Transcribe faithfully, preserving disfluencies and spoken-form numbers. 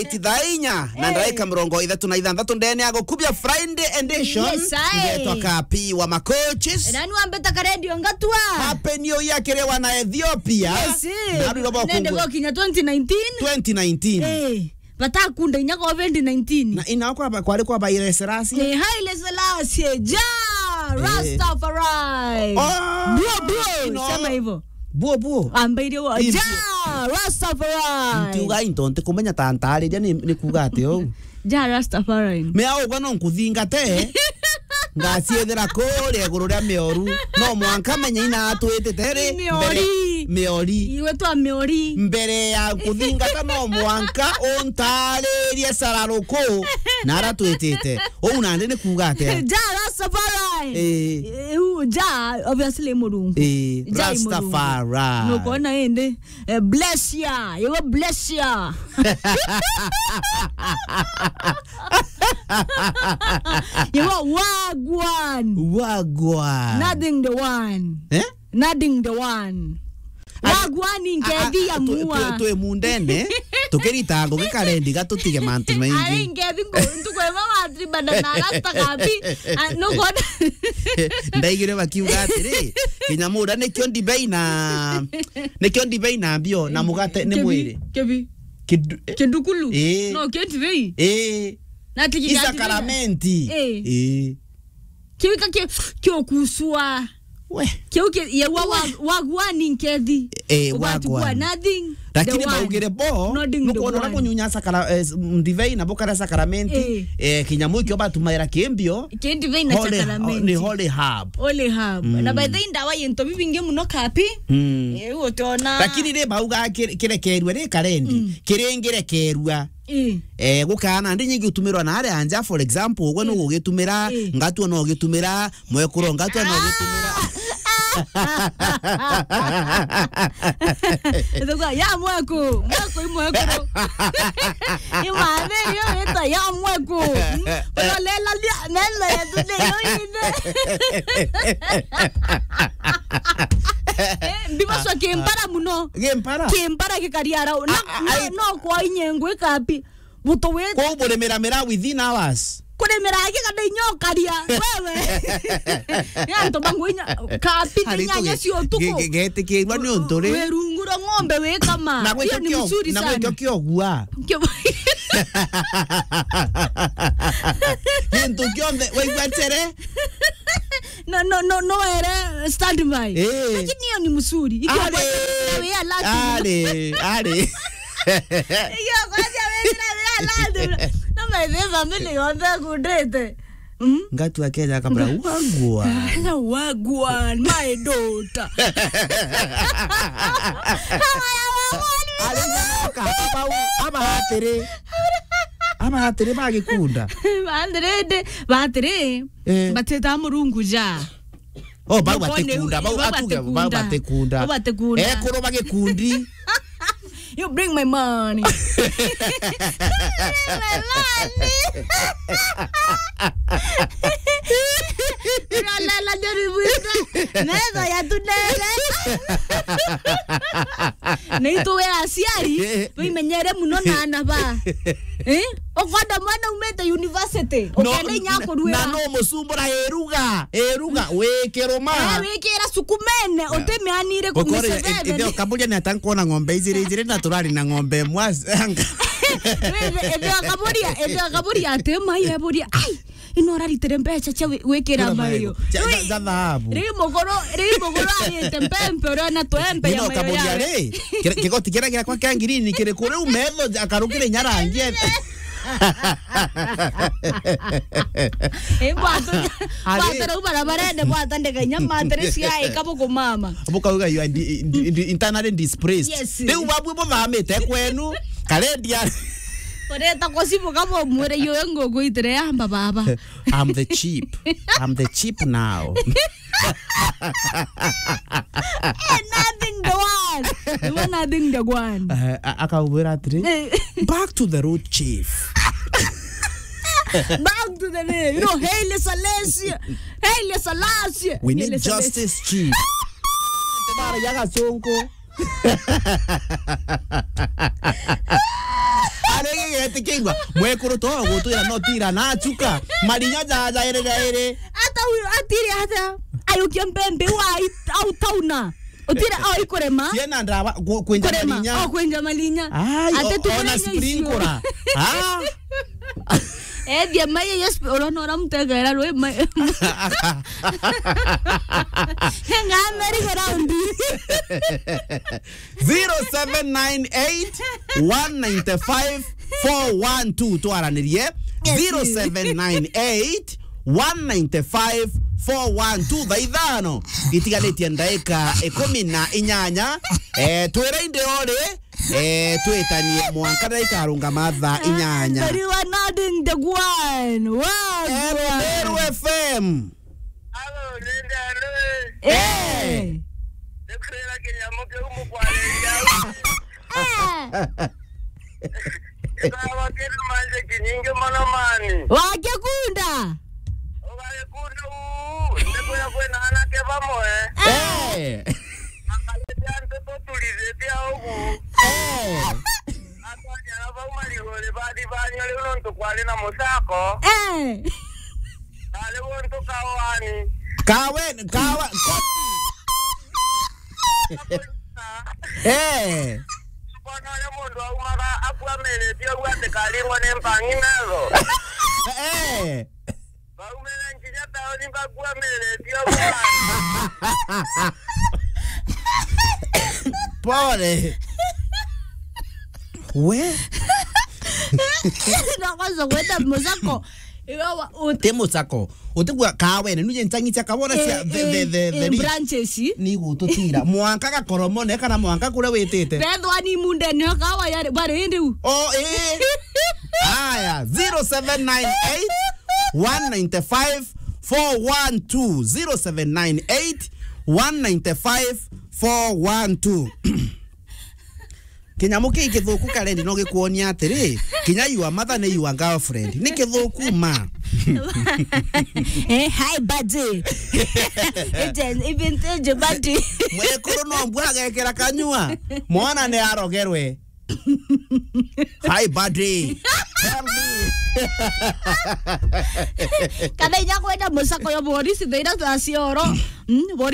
Thaa inya na ndagika mirongo ithatu na ithanthatu ndene ya gukubia Friday edition. Yes, aye. Ngetwa Kapi wa Makochis. Na ni wambeta karedio ngatua. Happy New Year kiri wana Ethiopia. Yes. Na rwiro bwa nende kungu- bokinya twenty nineteen. Twenty nineteen. Eh, batakunda inya covid nineteen. Na ina kwa ba-, kwari kwa Haile Selassie. Eh, Haile Selassie, Jah, eh. Rastafari. Oh, buo, buo, ino. Sema hivyo. Buo, buo. Ambaire wo. Ivyo. Jah, Rastafari. Ntiuga into ntikumenya ta ntaariria ni, ni kuuga ati uu. Jah, Rastafari. Mea ugwa no nkuthingate. Ngaciethera kuria iguru ria mioru. No mwanka menye ina atwitite ri. Miori. Mbere, miori. Iwe twa miori. Mbere ya nkuthingata no mwanka untaaririe cararuku na ara twitite. Uu nandi ni kuuga atia? Jah, Rastafari. Eh. Eh, uu, Jah, obviously, Murungu. Eh, Jah i Murungu. Rastafari. Nukwona indi? Eh, bless ya. Yewe bless ya. Yewe wagwan. Wagwan. Nothing the one. Eh? Nothing the one. Wagwani nkethi ya mua. Twi mundene, tukirita ngugi karendi gatutige mantu maingi. Ari nkethi ngu-, ntuku imwe watribana na rasta kabi. Ah, nukwona? Ndaigire bakiuga atiri, kinya muda nikio ndibei na, nikio ndibei na mbio na mugate ni mwiri. Kibi. Kidu-, kindukulu. Ii. No, kio ndibei. Ii. Na tiki. Isakramentu. Ii. Ii. Kiu ka ki-, kiokusua. We. Kiu ki-, ye wa, wa, wagwani nkethi. Eh, ugatigua wagwani. Nothing. Lakini the one. Baugire bo, nothing the nukwona ura one. Kunyunya sakara-, eh, s-, ndivei na bukara sakramenti, eh. Eh, kinyamu ikio batumaira kimbio. Ki ndivei na holy, sakramenti. Ni holy herb. Holy herb. Mm. Na by the way, ndawa yento bibingi muno kapi. Mm. Eh, utona. Lakini ri bauga kire-, kirekerwe ri karendi, mm, kiringirekerwa. Ii. Eh, gukaana ndi nyingi utumirwa na aria anja, for example, ugwe, ii, nugugitumira, ii, ngatua no ugitumira, mwekuru ngatua no ugitumira. Ithugua, ya mweku, mweku i mwekuru. Imathi iyo ita ya mweku. Urolela lia, nenda yetu ni yo ine. Eh, mbibaswa kimpara muno. Gimpara? Kimpara gikariara. Na, a, a, na, ai- no kwa inye ngwika api? Buto we. Kwa uburimira mira within hours. Kurimira aki kana inyokaria wewe. Ni antu bangu inya kapi ni nyanya cia utuku. Ge-, ge-, getikirwa ni untu ri. Werungura ng'ombe wikama. Hiyo ni mzuri sana. Na gwikio kiogua. Kio- Gintu kionthe waigua nchere. No, no, no, no, ere standby. Eh. Lakini hiyo ni mzuri. Ikiwa ari, we are lucky. Ari, ari. Iyo kwanja wethira wira lazima. Na my family yonthe kundite. Mm? Ngatu akenya kabla wagwa. Wagwa, my daughter. Ari nyoka, abau, aba atiri. Aba atiri bagikunda. Batiri, batiri. Eh. Batita Murungu ja. Oh, bau batikunda, bau atuge, bau batikunda. Bau batikunda. Ekuru bagikundi. You bring my money. Bring my money. Nalala ndio ributa. Naweza ya tunele. Na itu we aciari, tuimenyere muno na ana ba. Eh? Ukwenda mwana umite university, no, ukenda inya akuruira. Na no musumbura iruga, iruga, wikiruma. Eh, wikira sukumene, utimianire ku Miseveni. Ithe ukaburia ni ata nkwona ng'ombe ijiri ijiri na turari na ng'ombe imwe as-, anga. Ithe, ithe ukaburia, ithe ukaburia ati mai eburia, ai, ino uraritire mbeca cia wi-, gwikira mayo. Cia, cia, cia thahabu. Riu muguru, riu muguru arite mpempe, uria na tuempe ya mayo. Nino ukaburia ri, kire-, kigoti kiria giakwa kia ngirini kiri ku riu metho akarukire inya rangi ete. Imbwatu, ari- bwatara u barabarene, bwatandika inya matiri cia ika bukumama. Bukauga you are di-, di-, di-, internally displaced. Yes. Riu babwi buthamite kwenu, karendia. Kureta kucibuka bumwire, "Yue nguku itire yamba baba." I'm the chief. I'm the chief now. Eh, nothing the one. You want nothing the one. Eh, a-, akaubwira atiri, eh, "Back to the root chief." Back to the name. You know, Haile Selassie. Haile Selassie. We need justice, chief. Bara ya Gasungu. Ari gigeti Kigwa, mwekuru to gutwira no tira na chuka. Marinya jaja iri jairi. Ata u-, atiri ata? Ayukia mbembe wa i-, au tauna. Utira, oh, ikurema. Ciena ndawa, ku-, kwenja marinya. Oh, kwenja marinya. Ai, ate o-, tu ona marinya icio. Sprinkler. Ah. Eh, dia mai, yes, urona ura mutegera rwi mai. Ng'ameri ground. Zero seven nine eight, one nine five, four one two, twaranirie. Yes. Zero seven nine eight, one nine five, four one two. Thaa ithano itiganitie ndaika ikumi na inyanya. Eh, twira indi ori, eh, twitanie mwanka na ikarungama thaa inyanya. Very well, nodding the one. Wow, Meru, wow. Meru F M. Alo, nende alo, eh. Eh. Nikwira kinyamu kiu mukwariria. Eh. Gikawa kiri manje kinyingi mono mani. Wagikunda? Ugagikunda uu, nikwira kwina anake bamwe. Eh. Makarite antu tuturithite ugu. Eh. Atwanyara bau mariguri bathi banyo riu nontu kwari na mucako. Eh. Bari guntu kawaani. Kawe, kawa, ko-, eh. Bona uria mundu aumaga akuamiritie uguo ati karingwa ni mpangi metho. Eh. Baumire nginya taoni bakuamiritie uguo. Pole. We? No kwanza gweta mucako. Iwe wa-, ut- Ti mucako. Utigua kawene, nuje nchangi cia kawona cia eh, the, the, eh, the, eh, the branches. Ni gututira. Mwanka gakoromone kana mwanka kuria witite. Bethwa ni munde ni kawa yari, bari indi u. Oh, eh. Aya, zero seven nine eight, one nine five, four one two. Zero seven nine eight, one nine five, four one two. Kinyamu kii kithuku karendi no gikuonia atiri, kinya your mother ni your girlfriend. Ni kithuku ma. Eh, hi, buddy. Even buddy. Mwekuru no mbwa agekera kanyua. Mwana ni arogerwe. Hi, buddy. Tell me. Kana inya kwenda mucako yo borisi thaira thaa cioro. Mm, borisi